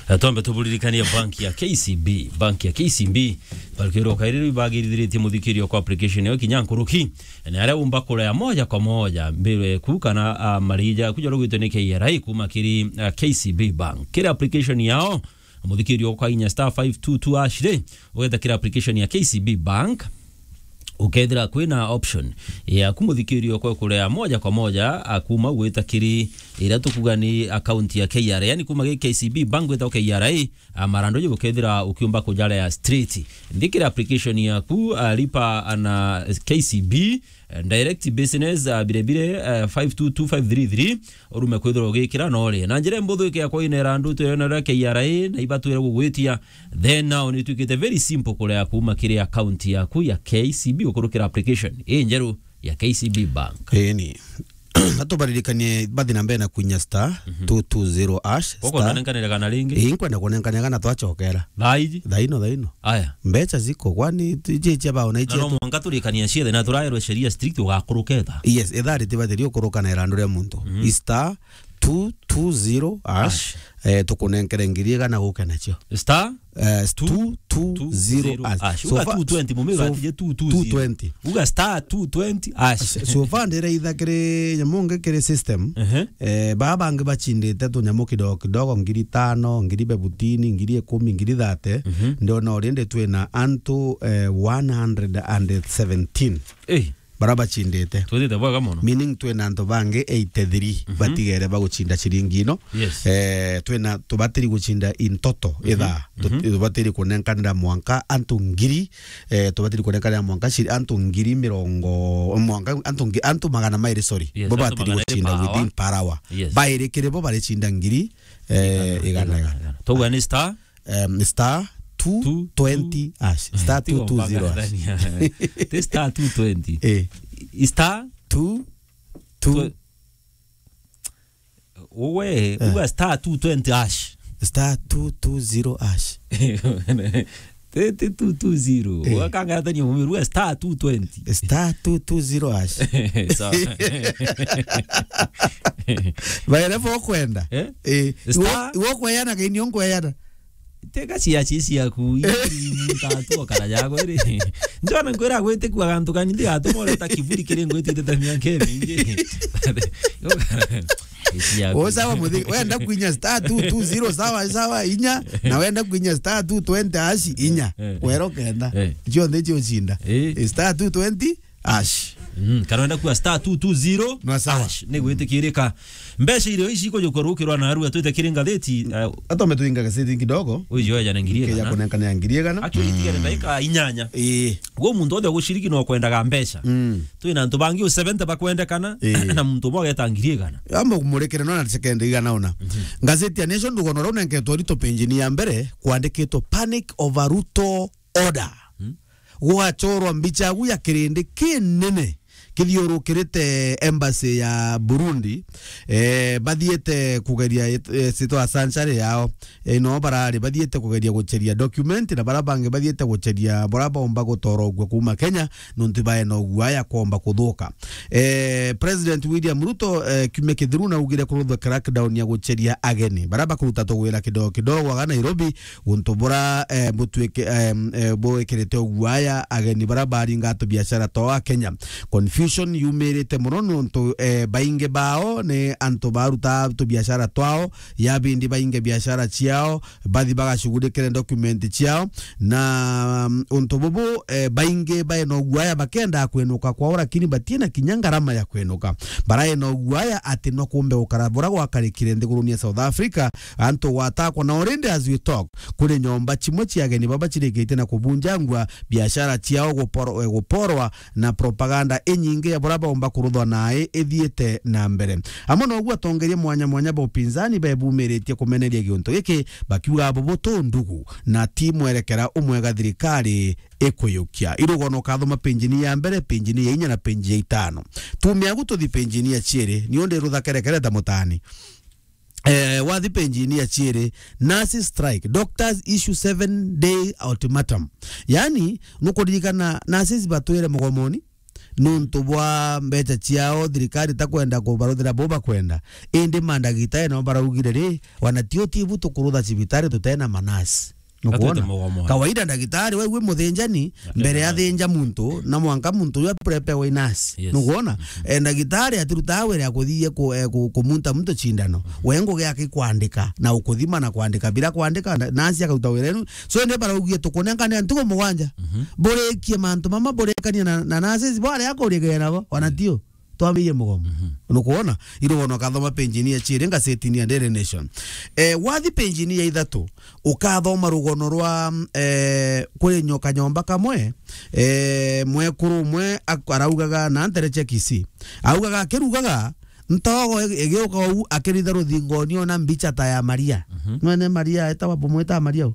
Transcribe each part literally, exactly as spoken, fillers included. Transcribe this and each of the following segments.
Na twambe tuburirikanie bank ya K C B. Bank ya K C B, barukirwo kairi bagirithiritie muthikirio kwa application yo kinya nkuruki. Na aria umba kurea moja kwa moja mbere ku kana, ah, marija kuja rugwitwe ni K R A kuma kiri, ah, K C B Bank. Kiri application yao, muthikirio kwa inya star five two two hash ri, ugeta kiri application ya K C B Bank. Ukethira kwina option ya kumuthikirio kwa kurea moja kwa moja, a, kuma gwita kiri iria tukuga ni account ya K R A, yani kuma gi K C B Bank gwita K R A, a, marando je gukethira ukiumba kujarea straight. Nthikira application yaku, a, lipa na K C B, eh, direct business, a, bire bire, eh, five two two five three three, urume kwithirwa ugikira na urie. Na njira mbuthu ike ya kuinera andu tweyonera K R A na ibatwire gugwitia, then now ni twikite very simple kurea kuma kiri account yaku ya K C B ukurukira application injeru ya K C B Bank. Eni. Atubaririkanie bathi na mbere na kuinya star two two zero hash. Koko star nanenkanire kana ringi? Ii, nkwenda kunenkanira kana twachokera. Thaiji? Thaino, thaino. Aya. Mbecha ziko, kwani tu-, ije cia bao na ije no tu- mwanka turikania ciethe na turaerwe sheria strict ugakuruketha. Yes, ithaa ritibatiri ukuruka na irandu ria muntu. Mhm. Star two two zero hash, eh, tukunenkere ngiri igana guke nacio. Star? Eh, two two zero hash. Uga two twenty, mumiru atije two two zero. Uga star two twenty hash. So far ndiraitha kiri nyamu ngi kiri system. Ehe. Eh, baa bangi bachindite tunyamu kidogo kidogo, ngiri tano, ngiri bebutini, ngiri ikumi, ngiri thate. Mhm. Ndiona already twina antu, eh, one hundred and seventeen. Eh. Bara bachindite. Twithite bwega mono. Meaning twina antu bangi eighty-three batigere baguchinda ciringi ino. Yes. Eh, twina tubatiri guchinda in total ithaa. Tut-, tubatiri kunenkanira mwanka antu ngiri, eh, tubatiri kunenkanira mwanka ciri-, antu ngiri mirongo, mwanka antu ngi-, antu magana mairi, sorry. Yes, bo antu batiri magana mairi guchinda per hour. Within per hour. Yes. Bairi kiri bo barichinda ngiri, eh, igana, igana, igana. Twauga ni star? Em, star two twenty hash. Star two two zero hash. Ti star two twenty. Eh. Star two two. Uwe, eh, uga star two twenty hash. Star two two zero hash. Ti, ti two two zero. Eh. Wakangatania mumiru, uga star two twenty. Star two two zero hash. Sawa. Baere bo kwenda. Eh? Eh, star iwo, iwo kweyana kaini onkweyana. Tega cia cia ciaku, ii, muntu atu okara jago iri. Njona nkwira gwitiku agantu kani ndigatuma ureta kiburi kiri ngwitite ta miaka imingi. Ii ciaku. O sawa, muthi-, wenda kwinya star two two zero, sawa, sawa, inya, na wenda kwinya star two twenty hash, inya. Eh, eh. Wero kenda. Eh. Cionthe cio ucinda. Eh. Star two twenty hash. Mm, kana wenda kuwa star two two zero hash. No, sawa. Ni gwitikirika. Mbeca irio ici ikujukwa rukirwa na arua twite kiri ngathiti, eh, atome tuinga gazeti kidogo. Uyu oya na ngiri igana. Keja kunenkanira ngiri igana. Aki itigere ndaika inyanya. Ii. Gwo muntu othe uguciriki no kwendaga mbeca. Mm. Twina antu bangi u seventy bakwendekana, ii, na muntu umwe ageta ngiri igana. Amba kumurekere no na second igana ona. Mhm. Gazeti ya Nation rugono rau nenketwo rito penjini ya mbere kwandikitwo panic over Ruto order. Hmm? Gugachorwa mbicha agu ya kirindi kinene kithiurukirite embassy ya Burundi, eh, bathiite kugeria it-, eh, sitwa sanctuary yao. Eh, no barari bathiite kugeria gucheria document, na bara bangi bathiite gucheria bora baumba gutorogua kuma Kenya, nontu baena uguaya kwomba kuthuka. Eh, President William Ruto, eh, kiumia kithiru naugire kuruthwa crackdown ya gucheria ageni bara bakuruta tugwira kidogo kidogo aga Nairobi, guntu bura, eh, butwike-, em, eh, bwikirite uguaya ageni bara baringa tubiashara twao a Kenya. Confusion yumirite mono nontu, eh, baingi bao ni antu baruta tubiashara twao, ya bindi bainge biashara ciao, bathi bagashughulikire document ciao, na, mm, untu bubu, eh, baingi baena uguaya bakenda kwenuka kwao, lakini batina kinya ngarama ya kwenuka. Baraena uguaya ati no kumbe gukara bura gwakarikire nthiguruni ya South Africa, antu gwatakwa na already as we talk, kuri nyomba chimwe cia ageni baba chirikite na kubunjangwa, biashara ciao guporo-, eh, guporwa, na propaganda inyingi ya bura baumba kuruthwa nae ithiite na mbere. Amwe noguo atongeria mwanya mwanya ba upinzani bebumiritie kumeneria giuntu giki, bakiuga bubu tu ndugu na ti mwerekera umwega thirikari ikuyukia. Irugono ukathoma penjini ya mbere, penjini ya inya na penji ya itano. Tumia agu tuthi penjini ya ciiri, niu ndi ruthakerekere ta mutani. Eh, wathi penjini ya ciiri, nurses strike, doctors issue seven day ultimatum. Yani, nukuririkana nurses batwire mugomoni, nontu bwa mbeca ciao thirikari itakwenda kubaruthira bo bakwenda. Indi mandagitari nao baraugire ri, wana tio tibu tukurutha cibitari tutena manasi. Nukwona? Atete mugomo. Kawaida ndagitari we wi muthinjani, mbere ya thinja muntu, na mwanka muntu uyu aprepewe i nasi. Yes. Nukwona? Mhm. Eh, ndagitari atirutaa wira ya kuthithia ku-, eh, ku-, kumunta muntu cindano. Mhm. We ngugi yake kwandika, na ukuthima na kwandika. Bila kwandika, na-, nasi akaruta wira enu. So, indi baraugie tukunenkane ntugo mugwanja. Mhm. Burikie mantu mama, burikanie na, na nurses, bwaria akurikia nabo, ona tio. Twambirie mugomo. Mhm. Nukwona? Irugono ukathoma page-ini ya ciiri ngazetini ya Daily Nation. Eh, wathi page-ini ya ithatu, ukathoma rugono rwa, eh, kuri nyoka nyomba kamwe, eh, mwekuru umwe ak-, araugaga na ntere cia Kisii. Augaga akirugaga, ntogo ig-, igiuka uu akiritha ruthingoni ona mbicha ta ya Maria. Mhm. Mwene Maria, etawa bumwita Maria u?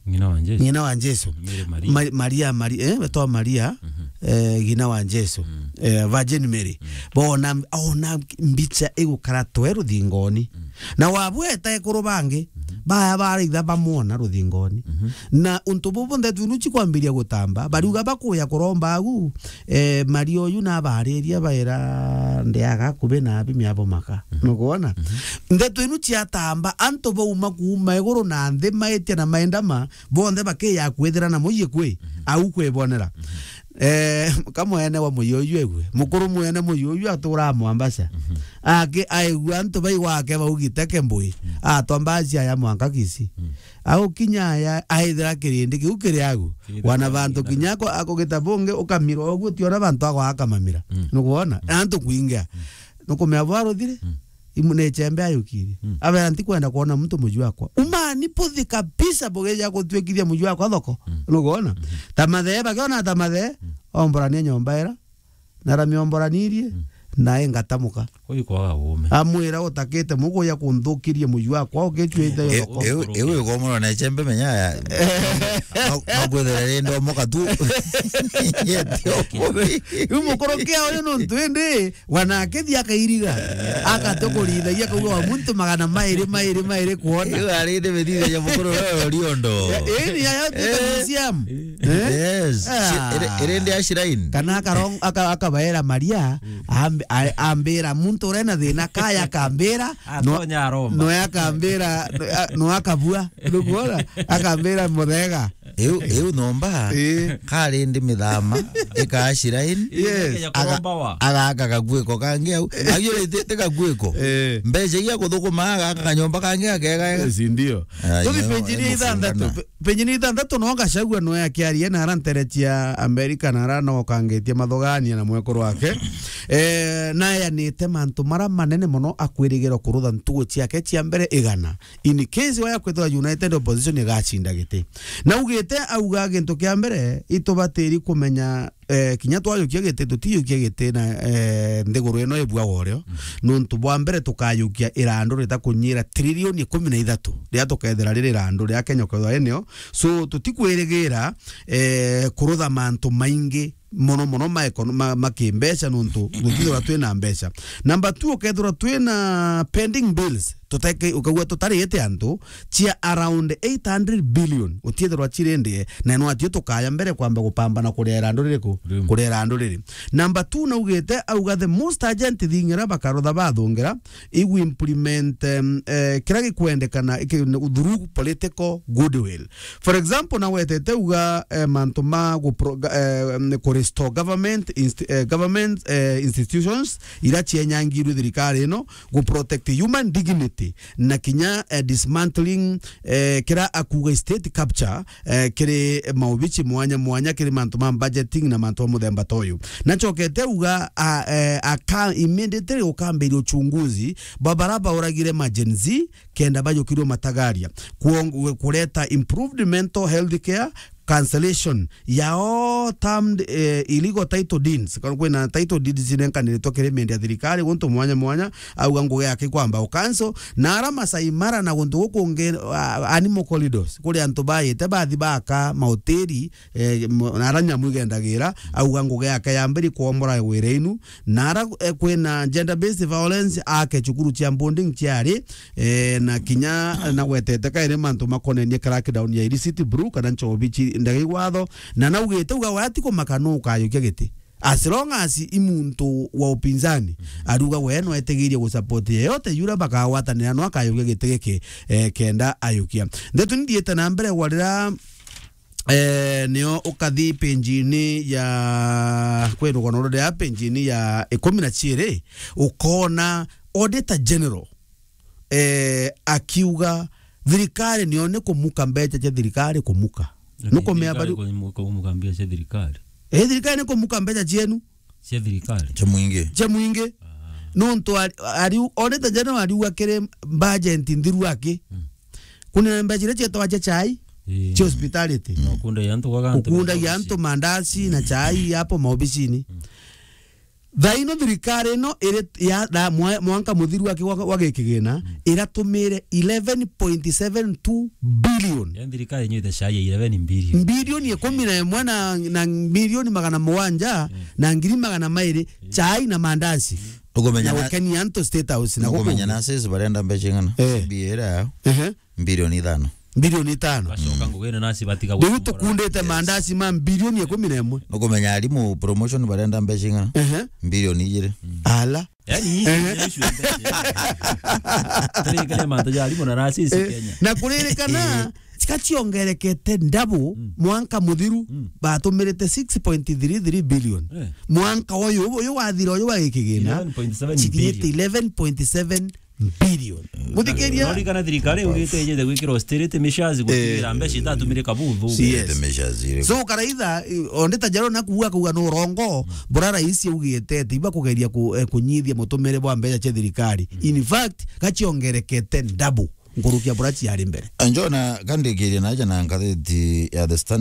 Ng'ina wa Jesu. Ng'ina wa Jesu. Mary Maria. Ma-, Maria, Mari-, eh, wetwa Maria, mhm, eh, ng'ina wa Jesu. Mm. Eh, Virgin Mary. Mm. Bona, ona mbicha igukara twe ruthingoni. Mm. Na wabweta ekuru bangi, mhm, baya baraitha bamwona ruthingoni. Mhm. Na untu bubu ndeto inu cikwambiria gutamba, bariuga bakuya kuromba agu, eh, Maria uyu nabariria baira ndiaga kubi na abimi abo maka. Mhm. Nukwona? Mhm. Ndeto inu ciatamba, antu bauma kuuma iguru na nthi, maitia na maendama, bonthe bakiya kwithira na muyi kwi, mhm, au kwibonera. Mhm. Eh, kamwene wa muyi uyu egwe, mukuru mwene muyi uyu aturaa Mombasa. Mhm. Aki-, aigua antu bai gwake baugite Kembui, mhm, atwa mbaci aya mwanka Kisii. Mhm. Agukinya aya, aithira kirindi kiu kiri agu. Kirindi wana bantu kinya ako-, akugita bungi, ukamira uguo, tiona bantu agwa akamamira. Mm. Nukwona? Mm. Na antu kwingia. Mm. Nukumea bwaruthire? Mm. Imu ni chembe ayukirie. Mm. Abera, "Ntikwenda kwona muntu muju wakwa." Umani puthi kabisa bugeja gutwikithia muju wakwa thoko. Mm. Nukwona? Mm. Ta mathe, bakiona ta mathe, mm, omborania nyomba ira. Naramia omboranirie, mm, na ingatamuka. Uyu kwaga uume. Amwira, "Utakite muguya kunthukirie muju wakwa, ukicuite yo thoko." Iu, iu, iu igomora na chembe menya ya. No, no kwithira ri ndomoka tu. Yetio. Iu mukuru kia uyu nuntu indi, wana akithi akairiga. Akate kurithagia kauga wa muntu magana mairi, mairi, mairi kuona. Iu ari ni mithithagia mukuru uyu riondo. Ii ni yayo tuta museum. Eh? Yes. Ah. Shi-, iri, iri ndi ashirain. Kana akarong-, aka-, akabaera Maria, mm, amb-, a-, ambira muntu urena thina kaya akambira, no-, atonya aromba. No akambira, no a-, no akabua. Nukwona? Akambira muthega. Iu, iu nomba, eh, kari ndi mithama, ika ashirain. Yes. Aga-, agaaka gakuiko kangi au. Agiurite gakuiko. Eh. Mbeca iria kuthukuma agaaka kanyomba kangi akega ega. Yes, ndio. Ai, tuthi no, page ni ithantatu. Pe-, page ni ithantatu no Gachagua no akiaria na ara ntere cia Amerika na ara no kangitie mathogania na mwekuru wake. Eh, na ayanite mantu mara manene mono akwirigirwa kurutha ntugu ciake cia mbere igana. In case waya kwithirwa United Opposition igacinda giti. Na ugite auga gintu kia mbere itubatiri kumenya eh, kinya twayukia giti, tutiyukia giti na, eh, nthiguru ino ibua woreo. Mm. Nuntu bwa mbere tukayukia irandu rita kunyira trilioni ikumi na ithatu, riria tukethira riri irandu ria Kenya ukethirwa inio. So, tutikwirigira, eh, kurutha mantu maingi mono mono ma ekono-, ma, ma kimbeca nuntu tutithirwa twina mbeca. Number two, ukethirwa twina pending bills. Tuteke-, ukauga tutariite antu cia around eight hundred billion, utiethirwa cirindie, na no atio tukaya mbere kwamba gupambana kuria irandu ririku? Riu. Kuria irandu riri. Number two, naugite, auga the most urgent thing ira bakarutha bathungira, igu implement, em, eh, kira gikwendekana iki-, through political goodwill. For example, na wetete uga, eh, mantu ma gupro-, ga-, eh, ku restore government inst-, eh, government, eh, institutions ira cienyangiirwe thirikari ino, gu protect human dignity, na kinya, eh, dismantling, eh, kira akuga state capture, eh, kiri maubici mwanya mwanya, kiri mantu ma budgeting na mantu ma muthemba ta uyu. Na ncokete uga, a, eh, aka immediately ukambiria uchunguzi bwa bara bauragire ma Gen Z, kenda bajukirwe matagaria. Kuong-, kureta improved mental health care, cancellation ya all termed, eh, illegal title deeds. Kana kwina title deeds cinenkaniritwe kiri mindi ya thirikari guntu mwanya mwanya, auga ngugi yake kwamba u cancel. Na ara Masai Mara na guntu gukungi, ah, animal corridors, kuri antu baite bathi baka mahoteli, eh, mo-, na ara nyamu igendagira, auga ngugi yake yambiri kuomora wira inu. Na ara, eh, kwina gender based violence, ake cukuru cia boarding ciari, eh, na kinya, eh, nagwetete kairi mantu makonenie crackdown ya illicit brew kana nchobi ci ndege watho, na naugite uga waya ti kumaka nu ukayukia giti. As long as i muntu wa upinzani, ariuga we no etigirie gu support yeyote yura bakagwatanira, no akayukia giti giki, eh, kenda ayukia. Ndeto ni thiite na mbere gwa rira, eh, nio ukathi page-ini ya, kwi rugano ruria page-ini ya ikumi na ciiri, ukona Auditor General, eh, akiuga thirikari nio ni kumuka mbeca cia thirikari kumuka. Nukumea bari- kumuka mbeca cia thirikari. Eh, thirikari ni kumuka mbeca cienu. Cia thirikari. Cia mwingi. Cia mwingi. Ah. Nontu ari, ari, Auditor General ariuga kiri budget nthiru aki. Mm. Kuna mbeca iria cietagwa cia chai, ii, cia hospitality. Mm. Ukundagia antu mandazi na chai hapo maobisini. Mm. Thaa ino thirikari ino iri ya, na mwa-, mwanka muthiru aki wa, wa gikigina, mm, iratumire eleven point seven two billion. Ya thirikari inyuite chai ya eleven billion. Bilioni ikumi na imwe na, na milioni magana mugwanja, mm, na ngiri magana mairi, mm, chai na mandazi. Nukumenya na na, gukenia antu State House na nukumenya guku. Na sisi barenda mbeca ing'ana? Eh. C B A ira yao. Ehe. Bilioni ithano. Bilioni ithano. Bacoka, mm, ngugine nasi batiga. Riu gukora. Tukundite, yes, mandazi ma bilioni ikumi na imwe. Nukumenya arimu promotion barenda mbeca ing'ana? Ehe. Bilioni ijiri. Mm. Ala. Yani, ehe, tiri kile mantu ja arimu na nasi, eh, Kenya. Na kuririkana, eh, cika ciongerekete double, mm, mwanka muthiru, mm, batumirite six point three three billion. Eh. Mwanka uyu, uyu wathira uyu wa gikigina, eleven point seven billion. Cithiite eleven point seven billion. Muthikiria. Norikana thirikari ugite ijete gwikira austerity measures, gutigira, eh, mbeca itatumire kabuthu. Yes. Austerity measures iri. So, karaitha, eh, Auditor General nakuuga kuuga no urongo, mm, bura rais augite ati iba kugeria ku-, eh, kunyithia mutumire bwa mbeca cia thirikari. Mm. In fact, gachiongerekete double nkurukia bura ciari mbere. Njona kandikiria naja na ngatheti ya The Standard.